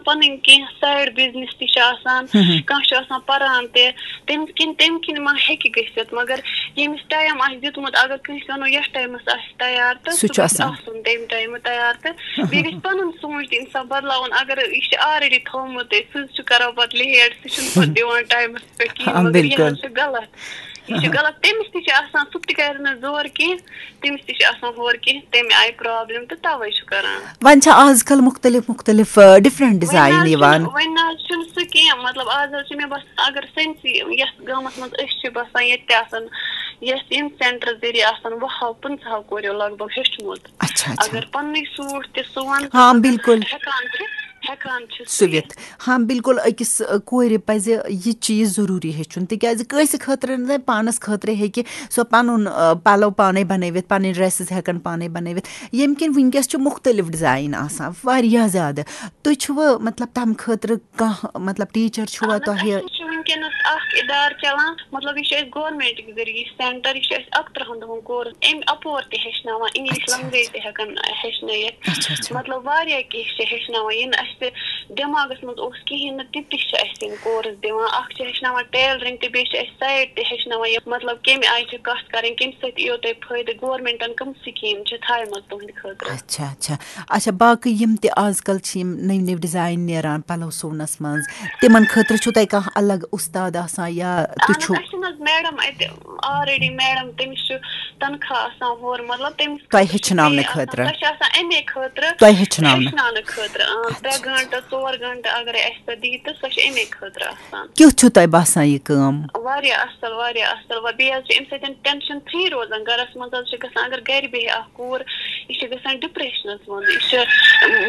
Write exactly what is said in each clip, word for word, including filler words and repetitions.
پَنٕنۍ کینٛہہ side business تہِ چھِ آسان، کانٛہہ چھُ آسان پَران تہِ، تَمہِ کِنۍ تَمہِ کِنۍ ما ہیٚکہِ گٔژھِتھ؟ مگر ییٚمِس ٹایم آسہِ دیُتمُت، اگر کٲنٛسہِ وَنو یَتھ ٹایمَس آسہِ تیار تہٕ سُہ سُہ چھُ گژھِ آسان۔ آسُن تَمہِ ٹایمہٕ تیار، تہٕ بیٚیہِ گژھِ پَنُن سونٛچ تہِ اِنسان بدلاوُن۔ اگر یہِ چھُ آلریڈی تھوٚومُت، سُہ چھُ کران پَتہٕ لیٹ، سُہ چھُنہٕ پَتہٕ دِوان ٹایمَس پٮ۪ٹھ کِہیٖنۍ، ہاں، مگر یہِ بِلکُل۔ حظ چھُ غلط۔ یہِ چھُ غلط۔ تٔمِس تہِ چھِ آسان، سُہ تہِ کَرِ نہٕ زورٕ کینٛہہ، تٔمِس تہِ چھِ آسان ہورٕ کینٛہہ، تَمہِ آیہِ پرابلم، تہٕ تَوَے چھُ کران۔ وۄنۍ چھِ آز کل مُختٔلِف مُختٔلِف، آ، ڈفرنٹ وۄنۍ نہ ڈیزائن حظ یِوان۔ چھُنہٕ، وۄنۍ نہ حظ چھُنہٕ سُہ کینٛہہ۔ مطلب، آز حظ چھِ مےٚ باسان، اگر سٲنسٕے یَتھ گامَس منٛز أسۍ چھِ بسان، ییٚتہِ تہِ آسان، یَتھ ییٚمہِ سینٹر ذٔریعہٕ آسان وُہو پٕنٛژٕہو کوریو لگ بگ ہیوٚچھمُت۔ اچھا، اچھا۔ اگر پننُے سوٗٹ تہِ سُوان، ہاں، تہٕ بِلکُل۔ ہٮ۪کان چھِ، ہٮ۪کان چھِ سُوِتھ۔ ہاں، بِلکُل، أکِس، آ، کورِ پَزِ یہِ چیٖز ضروٗری ہیٚچھُن، تِکیٛازِ کٲنٛسہِ خٲطرٕ نہٕ پانَس خٲطرٕ ہیٚکہِ سۄ پَنُن، آ، پَلَو پانَے بَنٲوِتھ، پَنٕنۍ ڈرٛیسٕز ہٮ۪کَن پانَے بَنٲوِتھ، ییٚمہِ کِنۍ وٕنکیٚس چھُ مُختٔلِف ڈِزایِن آسان، واریاہ زیادٕ۔ تُہۍ چھُوٕ، مطلب، تَمہِ خٲطرٕ کانٛہہ، مطلب، ٹیٖچَر چھُوا اَہَن حظ، تۄہہِ؟ اَسہِ حظ چھُ وٕنکیٚنَس اَکھ اِدارٕ چَلان، مطلب، یہِ چھُ اَسہِ گورمٮ۪نٛٹٕکۍ ذٔریعہٕ یہِ سینٹَر، یہِ چھُ اَسہِ اَکترٛہَن دۄہَن کورس، اَمہِ اَپور تہِ ہیٚچھناوان، اِنٛگلِش اچھا، لنٛگویج تہِ ہٮ۪کَن ہیٚچھنٲیِتھ۔ اچھا، اچھا۔ مطلب، واریاہ کینٛہہ چھِ ہیٚچھناوان، یہِ نہٕ اَسہِ دٮ۪ماغَس منٛز اوس کِہیٖنۍ نہٕ، تِم تہِ چھِ اَسہِ یِم کورس دِوان۔ اَکھ چھِ ہیٚچھناوان ٹیلرِنٛگ تہِ، بیٚیہِ چھِ اَسہِ سایڈ تہِ ہیٚچھناوان، یہِ مطلب، کَمہِ آیہِ چھِ کَتھ کَرٕنۍ، کَمہِ سۭتۍ یِیو تۄہہِ فٲیدٕ، گورمٮ۪نٛٹَن کَم سِکیٖم چھِ تھایمَژٕ تُہٕنٛدِ خٲطرٕ۔ اچھا، اچھا۔ اچھا، باقٕے یِم تہِ آز کل چھِ یِم نٔوۍ نٔوۍ ڈیزاین نیران پلو سُونس منٛز، تِمن خٲطرٕ چھُو تۄہہِ کانٛہہ الگ اُستاد آسان یا تُہۍ اہن حظ، چھُو؟ اَسہِ چھِنہٕ حظ میڈم اَتہِ آلریڈی، میڈم، تٔمِس چھُ تنخواہ آسان ہورٕ، مطلب، تٔمِس تۄہہِ ہیٚچھناونہٕ پے آسان، خٲطرٕ؟ سۄ چھِ آسان اَمے خٲطرٕ، تۄہہِ ہیٚچھناونہٕ؟ ہیٚچھناونہٕ خٲطرٕ، اۭں، اچھا، ترٛےٚ اچھا۔ گٲنٛٹہٕ، ژور گٲنٛٹہٕ اگرے اَسہِ سۄ دِیہِ تہٕ سۄ چھِ اَمے خٲطرٕ آسان۔ کیُتھ چھُو تۄہہِ باسان یہِ کٲم؟ واریاہ اَصٕل، واریاہ اَصٕل۔ وۄنۍ بیٚیہِ حظ چھِ اَمہِ سۭتۍ ٹٮ۪نشَن فِرٛی روزان گَرَس منٛز حظ چھِ گژھان، اگر گَرِ بیٚہہِ اَکھ کوٗر، یہِ چھِ گژھان ڈِپرٛیشنَس منٛز، یہِ چھِ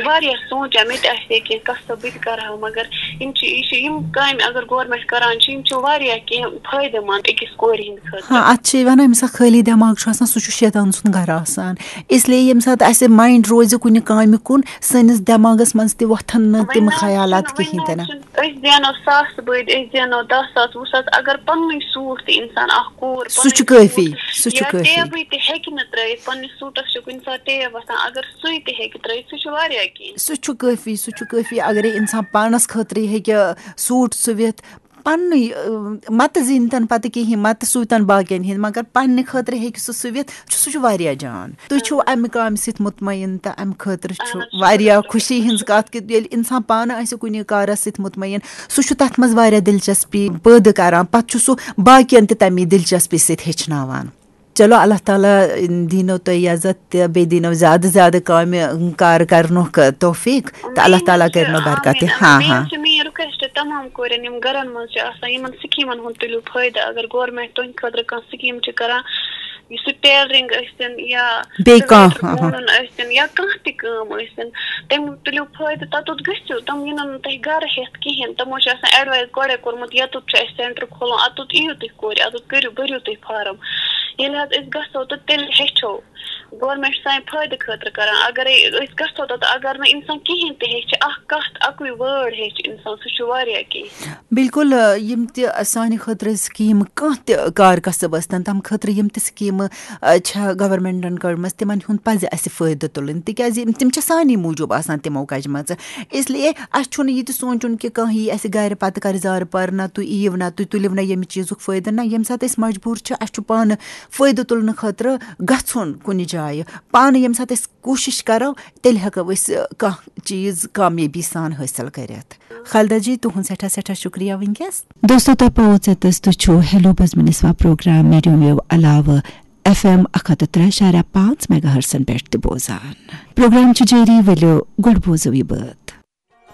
واریاہ سونٛچان، مےٚ تہِ آسہِ ہے کینٛہہ قصہٕ، بہٕ تہِ کَرٕ ہا، مگر یِم چھِ، یہِ چھِ، یِم کامہِ اگر گورمٮ۪نٛٹ کَران چھِ، یِم چھِ واریاہ کینٛہہ فٲیدٕ منٛد أکِس کورِ ہِنٛدِ خٲطرٕ۔ ہاں، اَتھ چھِ وَنان، ییٚمہِ ساتہٕ خٲلی دٮ۪ماغ چھُ آسان، سُہ چھُ شیطان سُنٛد گَرٕ آسان۔ اِسلیے ییٚمہِ ساتہٕ اَسہِ مایِنٛڈ روزِ کُنہِ کامہِ کُن، سٲنِس دٮ۪ماغَس منٛز تہِ وۄتھَن نہٕ وۄنۍ تِم نہ حظ خیالات چھُنہٕ، وۄنۍ کِہیٖنۍ نہ تہِ حظ نہٕ۔ چھُنہٕ۔ أسۍ زینو ساس بٔدۍ، أسۍ زینو دَہ ساس، وُہ ساس، اگر پننُے سوٗٹ تہِ انسان اکھ کوٗر سُہ چھُ پنٕنۍ کٲفی، سوٗٹ سُہ چھُ یا کٲفی۔ ٹیبٕے تہِ ہیٚکہِ نہٕ ترٲیِتھ، پننِس سوٗٹس چھُ کُنہِ ساتہٕ ٹیب وَسان، اگر سُے تہِ ہیٚکہِ ترٲیِتھ، سُہ چھُ واریاہ کینٛہہ۔ سُہ چھُ کٲفی، سُہ چھُ کٲفی۔ اگرے انسان پانس خٲطرٕ ہیٚکہِ سوٗٹ سُوِتھ، پننُے، اۭں، متہٕ زینتن پتہٕ کِہیٖنۍ، متہٕ سوٗتن باقین ہِنٛدۍ، مگر پننہِ خٲطرٕ ہیٚکہِ سُہ سُوِتھ، چھُ، سُہ چھُ واریاہ جان۔ تُہۍ چھِو اَمہِ کامہِ سۭتۍ مطمعین تہٕ اَمہِ خٲطرٕ چھُ اہن حظ، شُکُر واریاہ خۄدایَس خوشی کُن۔ ہٕنٛز کَتھ کہِ ییٚلہِ اِنسان پانہٕ آسہِ کُنہِ کارَس سۭتۍ مطمعین، سُہ چھُ تَتھ منٛز واریاہ دِلچَسپی پٲدٕ کَران، پَتہٕ چھُ سُہ باقیَن تہِ تَمی دِلچَسپی سۭتۍ ہیٚچھناوان۔ چلو، اللہ تعالیٰ دِنو تۄہہِ عزت تہٕ بیٚیہِ دِنو زیادٕ زیادٕ کامہِ کار کَرنُک توفیٖق تہٕ اللہ تعالیٰ کٔرنو برکت تہِ۔ آمیٖن، آمیٖن۔ ہاں، بیٚیہِ ہاں۔ حظ چھِ میٛٲنۍ رِکویسٹ تَمام کورٮ۪ن، یِم گَرَن منٛز چھِ آسان، یِمَن سِکیٖمَن ہُنٛد تُلِو فٲیدٕ۔ اگر گورمٮ۪نٛٹ تُہٕنٛدِ خٲطرٕ کانٛہہ سِکیٖم چھِ کَران، یُس سُہ ٹیلرِنٛگ ٲسِن یا بیٚیہِ کانٛہہ، سُویٹر ہاں، ہاں۔ وونُن ٲسِن یا کانٛہہ تہِ کٲم ٲسِن، تَمیُک تُلِو فٲیدٕ، تَتُتھ گٔژھِو، تِم یِنَن نہٕ تۄہہِ گَرٕ ہٮ۪تھ کِہیٖنۍ۔ تِمو چھِ آسان ایڈوایس گۄڈَے کوٚرمُت، یَتُتھ چھُ اَسہِ سینٹر کھولُن، اَتُتھ یِیِو تُہۍ کورِ، اَتُتھ کٔرِو، بٔرِو تُہۍ فارم۔ ییٚلہِ حظ أسۍ گژھو تہٕ تیٚلہِ ہیٚچھو۔ گورمٮ۪نٛٹ چھُ سانہِ فٲیدٕ خٲطرٕ کَران، اَگَرے أسۍ گژھو تَتھ، اَگَر نہٕ اِنسان کِہیٖنۍ تہِ ہیٚچھِ، اَکھ کَتھ، اَکُے وٲڈ ہیٚچھِ اِنسان، سُہ چھُ واریاہ کینٛہہ۔ بِلکُل، آ، یِم تہِ سانہِ خٲطرٕ سِکیٖمہٕ، کانٛہہ تہِ کار کسب ٲسۍتَن، تَمہِ خٲطرٕ یِم تہِ سِکیٖمہٕ، آ، چھےٚ گورمٮ۪نٛٹَن کٔڑمٕژ، تِمَن ہُنٛد پَزِ اَسہِ فٲیدٕ تُلٕنۍ، تِکیٛازِ یِم، تِم چھِ سانی موٗجوٗب آسان تِمو کَجمَژٕ۔ اِسلیے اَسہِ چھُنہٕ یہِ تہِ سونٛچُن کہِ کانٛہہ یی اَسہِ گَرِ پَتہٕ کَرِ زارٕ پارٕ، نہ تُہۍ یِیِو، نہ تُہۍ تُلِو نہ ییٚمہِ چیٖزُک فٲیدٕ۔ نہ، ییٚمہِ ساتہٕ أسۍ مجبوٗر چھِ، اَسہِ چھُ پانہٕ فٲیدٕ تُلنہٕ خٲطرٕ گژھُن کُنہِ جایہِ۔ پانہٕ ییٚمہِ ساتہٕ أسۍ کوٗشِش کَرو، تیٚلہِ ہٮ۪کو أسۍ، آ، کانٛہہ چیٖز کامیٲبی سان حٲصِل کٔرِتھ۔ خالدہ جی، تُہُنٛد سٮ۪ٹھاہ سٮ۪ٹھاہ شُکریہ وٕنکیٚس۔ دوستو، تۄہہِ پوٚو ژےٚ تہٕ تُہۍ چھِو ہیلو بزمِ نسوا پروگرام میڈیم ویو علاوٕ ایف ایم اکھ ہتھ تہٕ ترٛےٚ اعشاریہ پانٛژھ میگا ہرٹزن پٮ۪ٹھ تہِ بوزان۔ پروگرام چھُ جٲری، ؤلِو گۄڈٕ بوزو یہِ بٲتھ۔